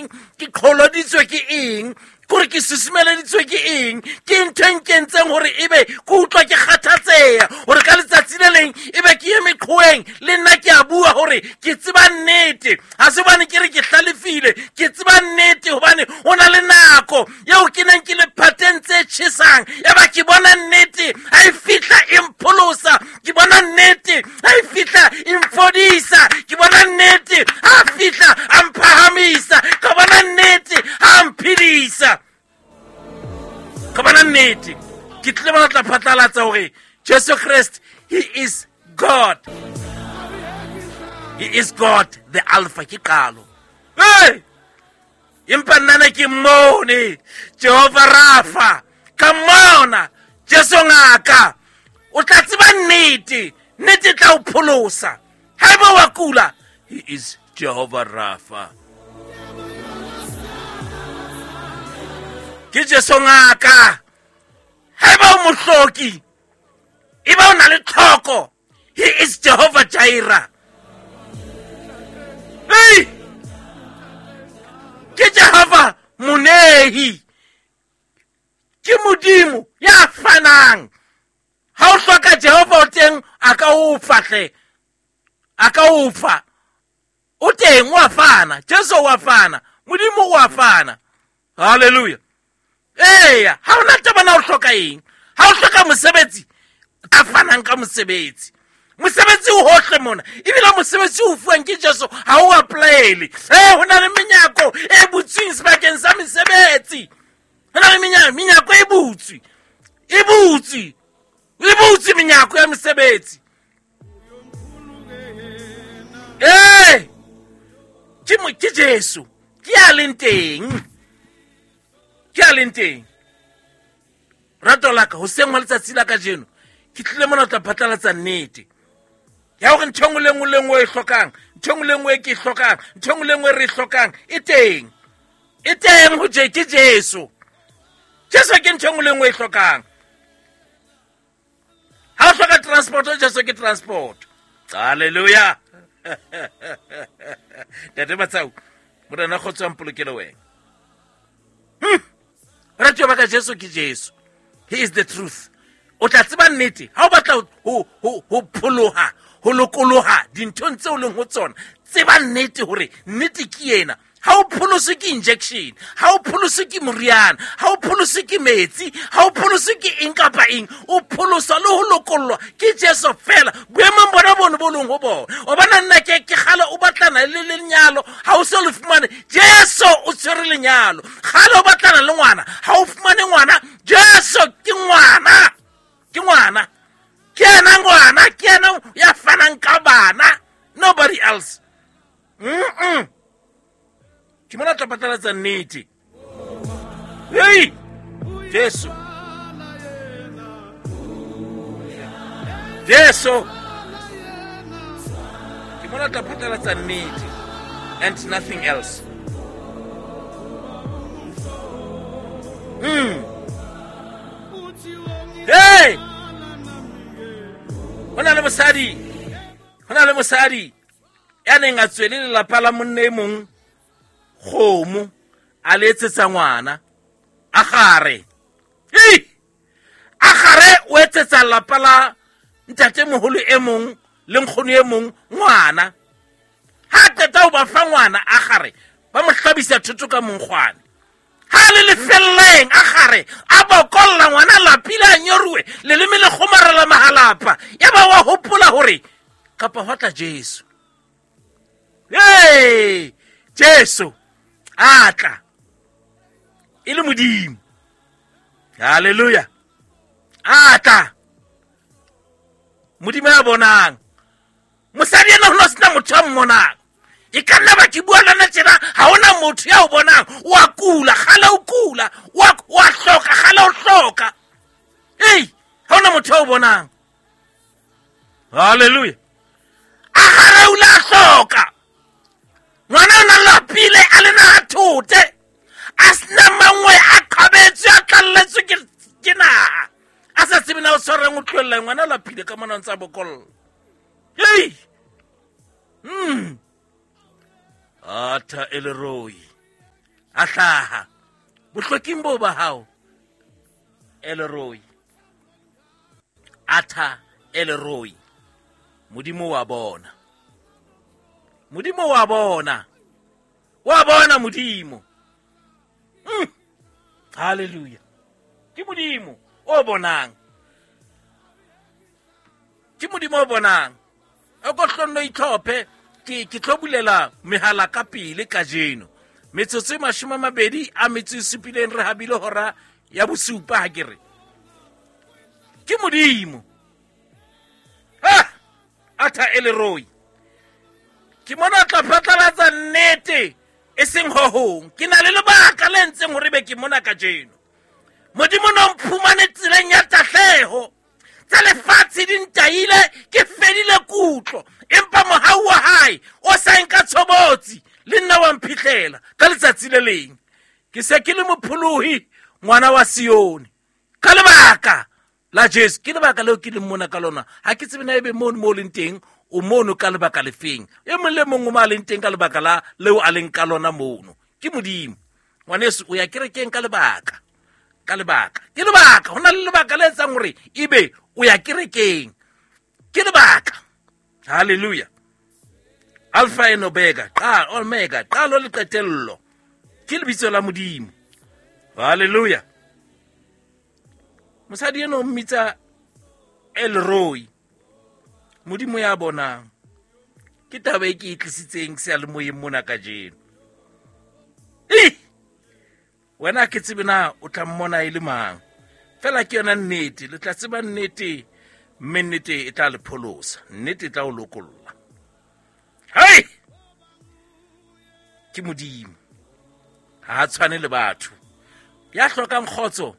eng, ke qholoditswe ke eng, kore ke susumeleditswe ke eng, ke ntho e nkentseng hore ebe ke utlwa ke kgathatseha hore ka letsatsi le leng ebe ke ye meqhoeng le nna ke a bua hore ke tseba nnete. Ha se hobane ke re ke hlalefile, ke tseba nnete hobane ho na le nako eo ke neng ke le phateng tse tjhesang, yaba ke bona nnete ha e fihla e mpholosa, ke bona nnete ha e fihla e mfodisa, ke bona nnete ha fihla a mphahamisa, ka bona nnete ha mphedisa, ka bona nnete. Ke tlile bona tla phatlalatsa hore Jesu Christ, he is God. He is God, the Alpha, ke qalo. Hey! Empa nna ne ke mmone Jehova Rafa, ka mmona Jesu ngaka. O tla tseba nnete, nnete e tla o pholosa. Haeba wa kula, he is Jehova Rafa. Ke Jesu ngaka. Haeba o mohloki, eba o na le tlhoko, he is Jehovah Jireh. Hey! Ke Jehovah Monehi. Ke Modimo ya fanang. Ha o hloka Jehova o teng, a ka o fa hle. A ka o fa. O teng, o a fana. Jesu o a fana. Modimo o a fana. Hallelujah. Eya, ha ona taba na o hloka eng. Ha o hloka mosebetsi, a fanang ka mosebetsi. Mosebetsi o hohle mona, ebile mosebetsi o fuwang ke Jesu ha o apply-ele. Ho na le menyako e butsweng sebakeng sa mesebetsi. Ho na le menyako e butswe. E butswe. E butswe menyako ya mesebetsi. Ke Jesu, ke a leng teng. Ke a leng teng. Rato la ka, hoseng hwa letsatsi la kajeno, ke tlile mona ho tla phatlalatsa nnete ya hore ntho e nngwe le nngwe le nngwe e hlokang, ntho e nngwe le nngwe e ke e hlokang, ntho e nngwe le nngwe e re e hlokang, e teng. E teng ho ke Jesu. Jesu ke ntho e nngwe le nngwe e hlokang. Ha o hloka transport, Jesu ke transport. Hallelujah. Ntate Matsau, Morena kgotso a mpolokele wena. Ratuwa ba ka, Jesu ke Jesu. He is the truth. O tla tseba nnete. Ha o batla ho pholoha, ho lokoloha dinthong tseo leng ho tsona, tseba nnete hore nnete ke ena. Ha o pholoswe ke injection, ha o pholoswe ke moriana, ha o pholoswe ke metsi, ha o pholoswe ke eng kapa eng, o pholoswa le ho lokollwa ke Jesu fela. Boemong bona bono bo leng ho bona. O bona nna ke kgale o batlana le lenyalo, ha o so le fumane, Jesu o tshwere lenyalo. Kgale o batlana le ngwana, ha o fumane ngwana, Jesu ke ngwana. Ke ngwana. Ke yena ngwana, ke yena ya fanang ka bana. Nobody else. Ke mona tla phatlalatsa nnete. Hey! Jesu. Jesu. Ke mona tla phatlalatsa nnete and nothing else. Hey! Ho na le mosadi. Ho na le mosadi ya neng a tswele lelapa la monna e mong kgomo, a le etsetsa ngwana. A gare. Ei! A gare o etsetsa lelapa la ntatemoholo e mong le nkgono e mong ngwana. Ha qeta ho ba fa ngwana, a gare ba mo hlabisa thoto ka monkgwane. Ha le lefelleng, a gare a bokolla ngwana lapile a nyoruwe, leleme le kgomarela mahalapa. Ya ba wa hopola hore kapa hwa tla Jesu. Hey! Jesu a tla e le Modimo. Hallelujah. A tla Modimo ya bonang. Mosadi ena ho no sena motho a mmonang. E ka nna ba ke bua le nna tjena, ha hona motho ya o bonang. O a kula, kgale o kula, o a hloka, kgale o hloka. Ei, ha hona motho ya o bonang. Hallelujah. A gare o la hloka. Ngwana o na lapile a le naha thote. A sena mangwe a qhabetswe, a tlalletswe ke naha. A sa tsebe na o tshwarang o tlohella ngwana o lapile ka mona o ntse a bokolla. Hei! Atha e le roi. A hlaha bohloking boo ba hao. Elroy, Arthur Elroy. Modimo wa bona, Modimo wa bona, wa bona Modimo. Hallelujah. Ke Modimo o bonang, ke Modimo o bonang. O ko hlonno itlhophe. Ke tlo bulela mehala ka pele kajeno. Metsotso e 27 re habile hora ya bosupa. Ha ke re ke Modimo. Ha Arthur Elroy, ke mona tla phatlalatsa nnete e seng ho hong. Ke na le lebaka le ntseng hore be ke mona kajeno. Modimo no mphumane tseleng ya tahleho. Tsa lefatshe di ntaile, ke fedile kutlo, empa mohau wa hae o sa nka tshobotsi le nna wa mphihlela ka letsatsi le leng. Ke se ke le mopholohi, ngwana wa Sione, ka lebaka la Jesu. Ke lebaka leo ke leng mona ka lona. Ha ke tsebe na ebe mono mo leng teng, o mono ka lebaka lefeng. E mong le mong o mo a leng teng ka lebaka la leo a leng ka lona mono. Ke Modimo. Ngwaneso, o ya kerekeng ka lebaka. Ka lebaka. Ke lebaka. Ho na le lebaka le etsang hore ebe o ya kerekeng. Ke lebaka. Hallelujah. Alpha and Omega, Omega, qalo le qetello. Ke lebitso la Modimo. Hallelujah. Mosadi eno o mmitsa Elroy. Modimo ya bonang. Ke taba e ke e tlisitseng seyalemoyeng mona kajeno. Wena ke tsebe na o tla mmona e le mang. Fela ke yona nnete, le tla tseba nnete, mme nnete e tla le pholosa, nnete e tla o lokolla. Hei! Ke Modimo. Ha a tshwane le batho. Ya hlokang kgotso,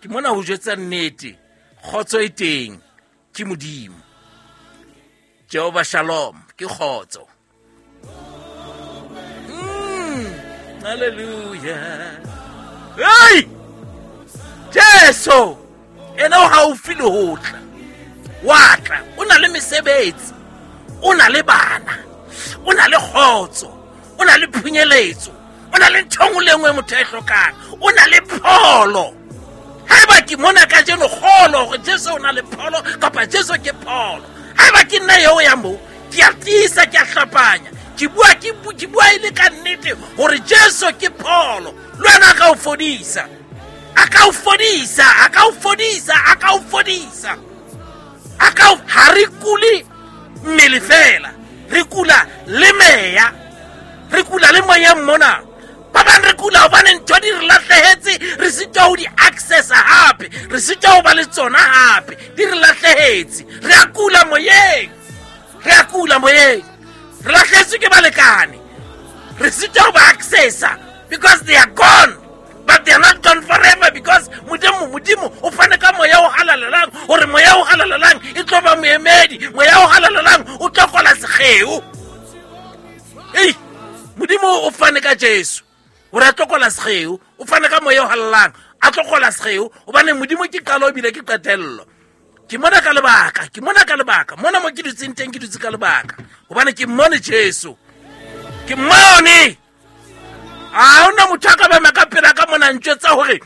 ke mona ho jwetsa nnete, kgotso e teng, ke Modimo. Jehovah Shalom, ke kgotso. Hallelujah. Hey! Jesu, ena o haufi le ho tla. Wa tla, o na le mesebetsi, o na le bana, o na le kgotso, o na le phunyeletso, o na le ntho nngwe le nngwe motho a e hlokang, o na le pholo. Haeba ke mona kajeno kgolo hore Jesu o na le pholo kapa Jesu ke pholo. Haeba ke nna eo ya moo, ke a tiisa, ke a hlapanya, ke bua, ke bua e le ka nnete hore Jesu ke pholo. Le wena a ka o fodisa, a ka o fodisa, a ka o fodisa, a ka o fodisa. A ka o, ha re kule mmele fela, re kula le meya, re kula le moyeng mona. Ba bang re kula hobane ntho di re lahlehetse, re sitwa ho di accessa hape, re sitwa ho ba le tsona hape, di re lahlehetse. Re a kula moyeng, re a kula moyeng, re lahlehetswe ke balekane, re sitwa ho ba accessa because they are gone. But they are not gone forever, because Modimo, Modimo o fane ka moya o halalelang, hore moya o halalelang e tlo ba moemedi, moya o halalelang o tlo kwala sekgeo. Ei, Modimo o fane ka Jesu hore a tlo kwala sekgeo, o fane ka moya o halalelang a tlo kwala sekgeo, hobane Modimo ke qalo ebile ke qetello. Ke mona ka lebaka, ke mona ka lebaka, mona mo ke dutseng teng ke dutse ka lebaka, hobane ke mmone Jesu, ke mmone. Ha hona motho a ka ba ka pela ka mona ntjwetsa hore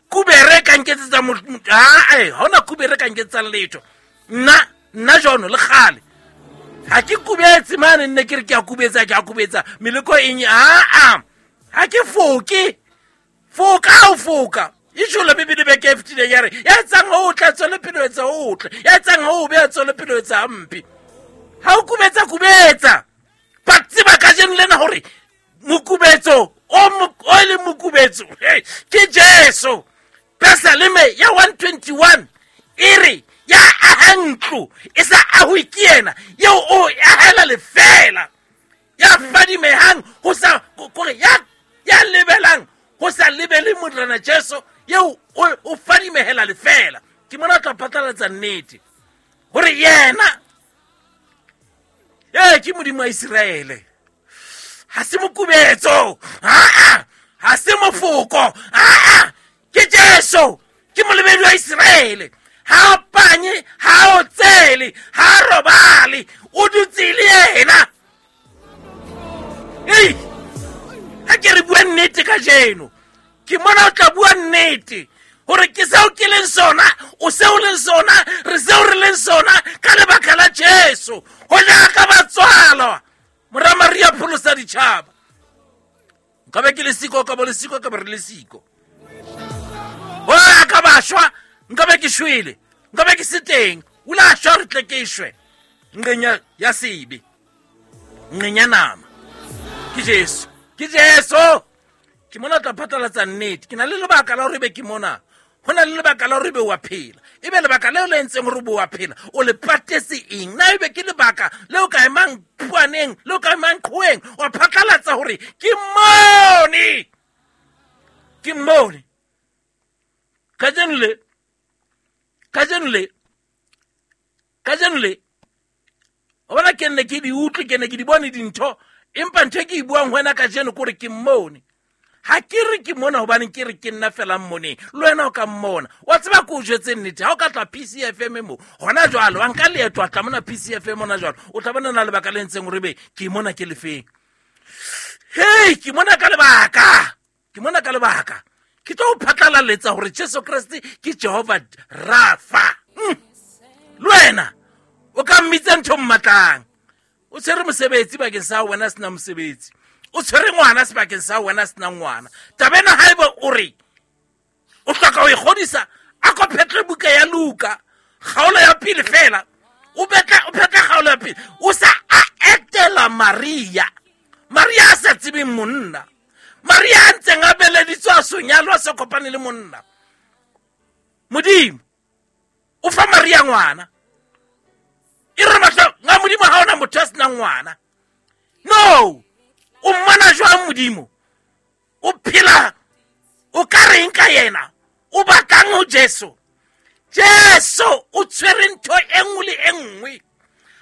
kubere ka nketsetsa ha, ha hona kubere ka nketsetsa letho. Nna, nna jono le kgale. Ha ke kubetse mane, nne ke re ke a kubetsa, ke a kubetsa. Meleko eng? Ha, ha ke foke. Foka o foka. E jolo Bibele beke e fetileng ya re, ya etsang ho tla tswele pele ho etsa ho tle, ya etsang ho be a tswele pele ho etsa hampe. Ha o kubetsa, kubetsa. Ba tseba kajeno lena hore mokubetso o e leng mokubetso, hey, ke Jesu. Pesaleme ya 121 e re, ya aha ntlo e sa ahwe ke yena, eo o e ahela lefeela. Ya fadimehang ho sa, kore ya, ya lebelang ho sa lebele Morena Jesu, eo o fadimehela lefeela. Ke mona tla phatlalatsa nnete hore yena ke Modimo wa Iseraele. Ha se mokubetso, ha, ha se mofoko, ha, ke Jesu, ke molebedi wa Iseraele. Ha panye, ha otsele, ha robale, o dutse le yena. Ei, ha ke re bua nnete. nnete kajeno. Ke mona o tla bua nnete gore ke seo ke leng sona, o seo leng sona, re seo re leng sona ka lebaka la Jesu. Go jaaka ba tswalwa mora Maria pholosa ditšhaba. Nka be ke le siko, ka bo le siko, ka be re le siko. O a ka ba shwa, nka be ke shwele, nka be ke se teng. O la shwa re tle ke shwe. Nqeng ya sebe, nqeng ya nama. Ke Jesu, ke Jesu. Ke mona tla phatlalatsa nnete. Ke na le lebaka la hore be ke mona. Ho na le lebaka la hore be wa phela. Ebe lebaka leo le entseng hore be wa phela, o le patetse eng? Na ebe ke lebaka leo ka emang phuaneng, leo ka emang qhoweng, wa phatlalatsa hore ke mone. Ke mone. Kajeno le, kajeno le, kajeno le, o bona ke nne ke di utlwe, ke ne ke di bone dintho, empa ntho e ke e buang ho wena kajeno ke hore ke mmone. Ha ke re ke mona hobane ke re ke nna fela mmoneng, le wena o ka mmona. Wa tseba ke o jwetse nnete, ha o ka tla PCFM mo hona jwale, wa nka leeto wa tla mona PCFM hona jwale, o tla bona na lebaka le ntseng hore be ke mona ke lefeng. Hei, ke mona ka lebaka, ke mona ka lebaka. Ke tlo o phatlalaletsa hore Jesu Kreste ke Jehova Rafa. Le wena o ka mmitsa ntho mmatlang. O tshwere mosebetsi bakeng sa wena sena mosebetsi. O tshwere ngwana sebakeng sa wena sena ngwana. Taba ena haeba o re o hloka ho e kgodisa, a ko phetle buka ya Luka, kgaolo ya pele fela. O phetle kgaolo ya pele. O sa a etela Maria. Maria a sa tsebeng monna. Maria a ntseng a beleditswe a so nyalwa, a sa kopane le monna. Modimo o fa Maria ngwana. E re mahlo nga Modimo ha ona motho a senang ngwana. No, o mmona jwang Modimo? O phela o ka reng ka yena? O batlang ho Jesu? Jesu o tshwere ntho e nngwe le e nngwe.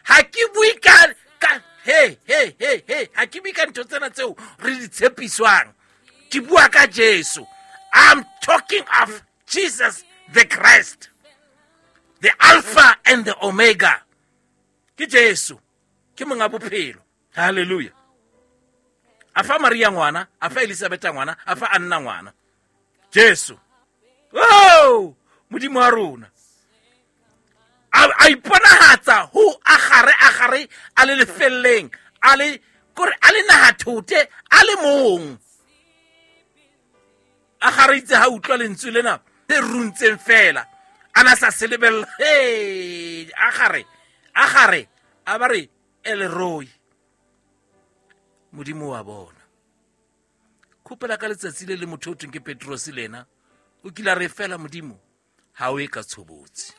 Ha ke bue ka, ka, he, he, he, he, ha ke bue ka ntho tsena tseo re di tshepiswang. Ke bua ka Jesu. I'm talking of Jesus the Christ, the Alpha and the Omega. Ke Jesu, ke monga bophelo. Hallelujah. A fa Maria ngwana, a fa Elizabeth ngwana, a fa Anna ngwana. Jesu. Oh, Modimo wa rona. A iponahatsa ho agare, agare a le lefelleng, a le kore a le nahathote, a le mong. Agare itse ha utlwa lentswe lena le runtseng fela, a na sa se lebella. Hey, agare, agare a ba re Elroy. Modimo wa bona. Khopela ka letsatsi le le motho o thweng ke Petrose le ena, o kile a re fela Modimo ha o e ka tshobotsi.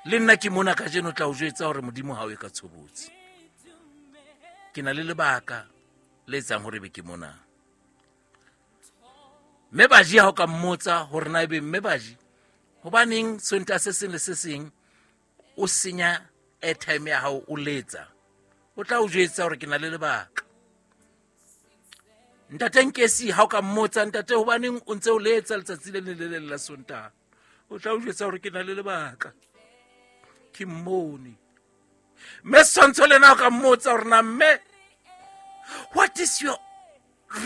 Le nna ke mona kajeno tla o jwetsa hore Modimo ha o e ka tshobotsi. Ke na le lebaka le etsang hore be ke mona. Mme Baji ha o ka mmotsa hore na ebe mme Baji hobaneng Sontaha se seng le se seng o senya airtime ya hao o letsa, o tla o jwetsa hore ke na le lebaka. Ntate Nkesi ha o ka mmotsa, ntate hobaneng o ntse o letsa letsatsi le leng le le leng la Sontaha, o tla o jwetsa hore ke na le lebaka, ke mmone. Mme Setshwantsho le ena o ka mmotsa hore na mme, what is your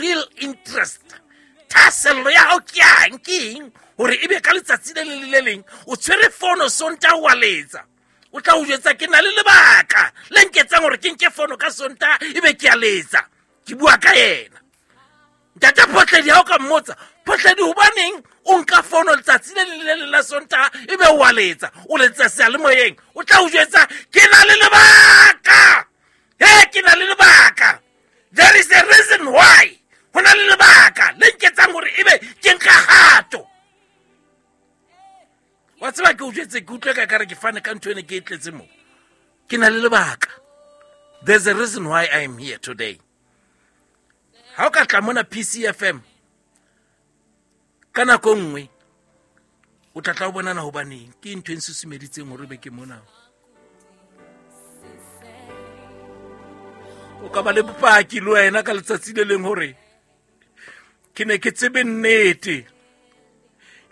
real interest? Thahasello ya hao ke yang, ke eng hore ebe ka letsatsi le leng le le leng o tshwere fono Sontaha wa letsa? O tla o jwetsa ke na le lebaka le nketsang hore ke nke fono ka Sontaha ebe ke a letsa, ke bua ka yena. Ntate Photledi ha o ka mmotsa, Photledi hobaneng o nka fono letsatsi le leng le le leng la Sontaha ebe o a letsa, o letsa seyalemoyeng, o tla o jwetsa ke na le lebaka. He, ke na le lebaka. There is a reason why. Ho na le lebaka le nketsang hore ebe ke nka kgato. Wa tseba ke o jwetse, ke utlwe ka kare ke fane ka ntho ene ke e tletse mo. Ke na le lebaka. There's a reason why I am here today. Ha o ka tla mona PCFM ka nako nngwe, o tla tla o bonana hobaneng ke ntho e nsusumeditseng hore be ke mona. O ka ba le bopaki le wena ka letsatsi le leng hore ke ne ke tsebe nnete,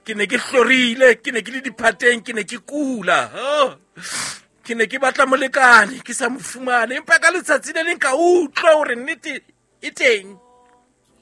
ke ne ke hlorile, ke ne ke le diphateng, ke ne ke kula, oh, ke ne ke batla molekane ke sa mo fumane, empa ka letsatsi le leng ka utlwa hore nnete e teng.